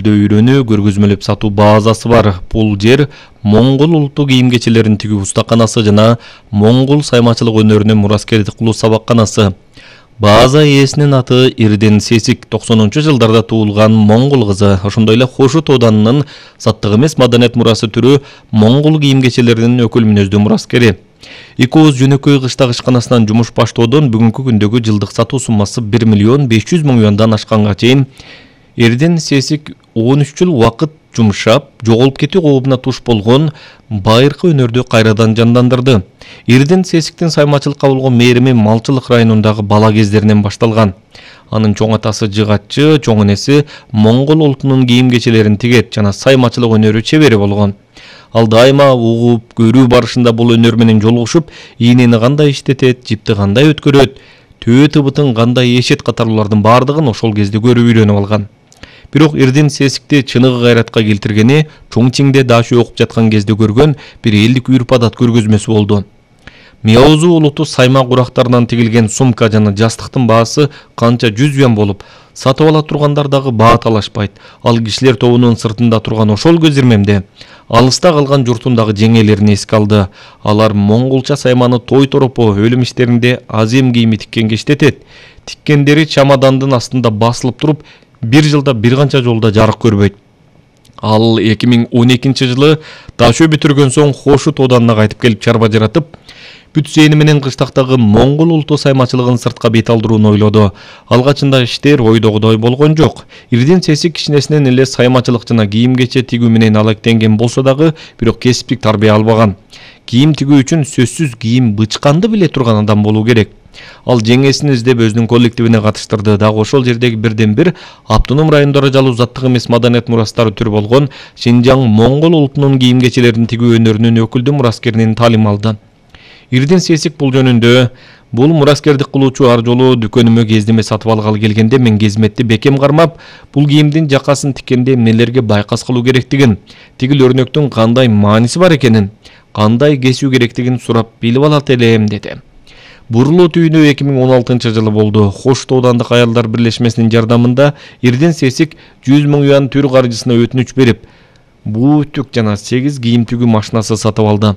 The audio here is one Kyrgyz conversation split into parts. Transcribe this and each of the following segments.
Үйрөнүү көргөзмөлөп сатуу базасы бар. Бул жер Моңгол улуттук кийим-кечелерин тигүү устаканасы жана Моңгол саймачылык өнөрүнө мураскердик кылуу сабакканасы. База ээсинин аты Ирден Сесик, 90-жылдарда туулган моңгол кызы. Ошондой эле Хошут Оданынын заттык эмес маданият мурасы түрү моңгол кийим-кечелеринин өкүл мүнөздүү мураскери. Экөөз жөнөкөй кыштак ишканасынан жумуш баштоодон бүгүнкү күндөгү жылдык сатуу суммасы 1 миллион 500 миң юандан ашканга чейин Ирден Сесик 13 жыл убакыт жумшап, жоголуп кетүү коопуна туш болгон байыркы өнөрдү кайрадан жандандырды. Ирден Сесиктин саймачылыкка болгон мээрими Малчылык районундагы бала кездеринен башталган. Анын чоң атасы жыгатчы, чоң энеси моңгол улутунун кийим-кечелерин тигет жана саймачылык өнөрү чебери болгон. Ал дайыма угуп, көрүү барышында бул өнөр менен жолугушуп, ийнени кандай иштетет, жипти кандай өткөрөт, төө тыбытын кандай эшет катарлуулардын бардыгын ошол кезде көрүп үйрөнүп алган. Бирок Ирден Сесикти чыныгы кайратка келтиргени Чоңчиңде дашы окуп жаткан кезде көргөн бир элдик үрп-адат көргөзмөсү болду. Миозу улуту сайма курактарынан тигилген сумка жана жастыктын баасы канча 100 юан болуп, сатып ала тургандар дагы баа талашпайт. Ал кишилер тобунун сыртында турган ошол көз ирмемде алыста калган журтун дагы жеңелерин эске алды. Алар монголча сайманы той торопо өлүм иштеринде азем кийими тиккенге иштетет. Тиккендери чамадандын астында басылып туруп, бир жылда бир канча жолда жарык көрбөйт. Ал 2012 жылы дашөө бүтүргөн соң Хошут Оданына кайтып келип чарба жаратып, бүтсөйнү менен кыштактагы моңгол улуту саймачылыгын сыртка бет алдырууну ойлоду. Алгачында иштер ойдогудой болгон жок. Ирден Сесик кичинесинен эле саймачылык жана кийим-кече тигүү менен алектенген болсо дагы, бирок кесиптик тарбия албаган. Кийим тигүү үчүн сөзсүз кийим бычканды биле турган адам болуу керек. Ал жеңесин издеп өзүнүн коллективине катыштырды. Дагы ошол жердеги бирден бир автоном райондора жалуу заттык эмес маданият мурастары түрү болгон Шинжаң моңгол улутунун кийим-кечелерин тигүү өнөрүнүн өкүлдүү мураскеринен таалим алды. Ирден Сесик бул жөнүндө: бул мураскердик кылуучу ар жолу дүкөнүмө кездеме сатып алгалы келгенде мен кезметти бекем кармап, бул кийимдин жакасын тиккенде эмнелерге байкас кылуу керектигин, тигил өрнөктүн кандай мааниси бар экенин, кандай кесүү керектигин сурап билип алат элем, деди. Бурулуу түйүнү 2016 жылы болду. Хошут Оодандык аялдар бирлешмесинин жардамында Ирден Сесик 100 миң юан түр каржысына өтүнүч берип, бутүк жана 8 кийим тигүү машинасы сатып алды.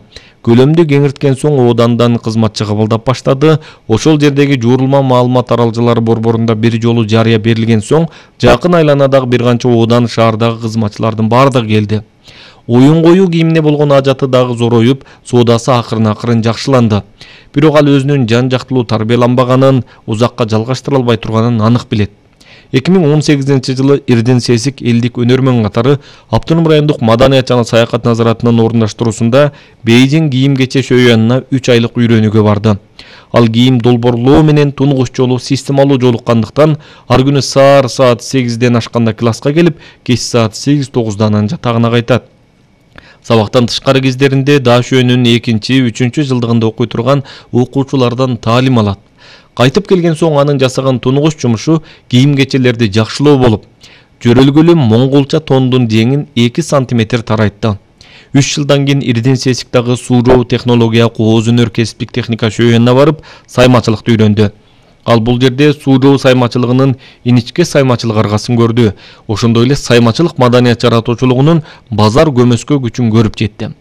Көлөмдү кеңирткен соң Оодандан кызматчы кабылдап баштады. Ошол жердеги жуурулма маалымат аралжалары борборунда бир жолу жарыя берилген соң, жакын айланадагы бир канча Оодан шаардагы кызматчылардын бардыгы келди. Оюн коюу кийимине болгон ажаты дагы зороюп, соодасы акырын жакшыланды. Бирок ал өзүнүн жан жактылуу тарбияланбаганын, узакка жалгаштыра албай турганын анык билет. 2018 жылы Ирден Сесик элдик өнөрмөн катары Автоном райондук маданият жана саякат назаратынын орундаштыруусунда Бейжиң кийим-кече шөйянына 3 айлык үйрөнүүгө барды. Ал кийим долбоорлоо менен тунугуч жолу системалуу жолуккандыктан ар күнү саат 8ден ашканда класска келип, кеч саат 8-9 анан жатагына кайтат. Сабактан тышкары кездеринде дашөөнүн 2-3 жылдыгында окуй турган окуучулардан таалим алат. Кайтып келген соң анын жасаган тунугуч жумушу кийим-кечелерди жакшылоо болуп, жөрөлгөлүү монголча тондун жеңин 2 сантиметр тарайтты. 3 жылдан кийин Ирден Сесик дагы Суужоо технология кооз өнөр кесиптик техника шөйөнүнө барып, саймачылыкты үйрөндү. Ал бул жерде Суужоо саймачылыгынын иничке саймачылык аргасын көрдү. Ошондой эле саймачылык маданият жаратуучулугунун базар көмөскө күчүн көрүп жетти.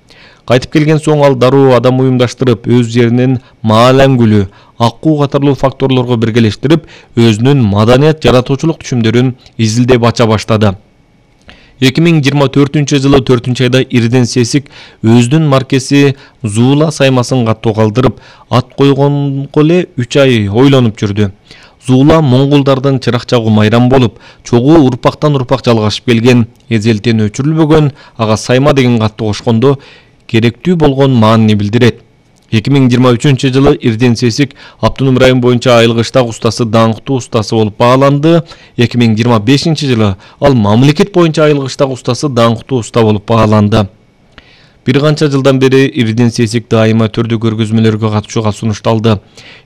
Кайтып келген соң ал дароо адам уюмдаштырып, өз жеринин маалангүлү, аккуу катарлуу факторлорго биргелештирип, өзүнүн маданият жаратуучулук түшүмдөрүн изилдеп ача баштады. 2024 жылы 4-айда Ирден Сесик өзүнүн маркеси Зуула саймасын каттоо калтырып, ат койгонго эле 3 ай ойлонуп жүрдү. Зуула монголдардын чыракчагы майрам болуп, чогуу урпактан урпак жалгашып келген, эзелтен өчүрүлбөгөн, ага сайма деген катты кошкондо керектүү болгон маанини билдирет. 2023 жылы Ирден Сесик Автоном район боюнча айыл кыштак устасы даңктуу устасы болуп бааланды. 2025 жылы ал мамлекет боюнча айыл кыштак устасы даңктуу уста болуп бааланды. Бир канча жылдан бери Ирден Сесик дайыма түрдүү көргөзмөлөргө катышууга сунушталды.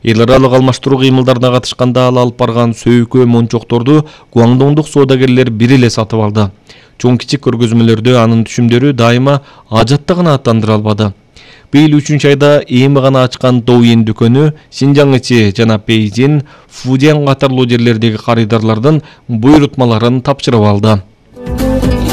Эл аралык алмаштыруу кыймылдарына катышканда ал алып барган сөйкө мончокторду Гуаңдоңдук соодагерлер бир эле сатып алды. Чоң кичик көргөзмөлөрдө анын түшүмдөрү дайыма ажатта гана аттандыра албады. Быйыл 3-айда эми гана ачкан Доуин дүкөнү Шинжаң ичи жана Бейжиң, Фудзян катарлуу жерлердеги карыдарлардын буйрутмаларын тапшырып алды.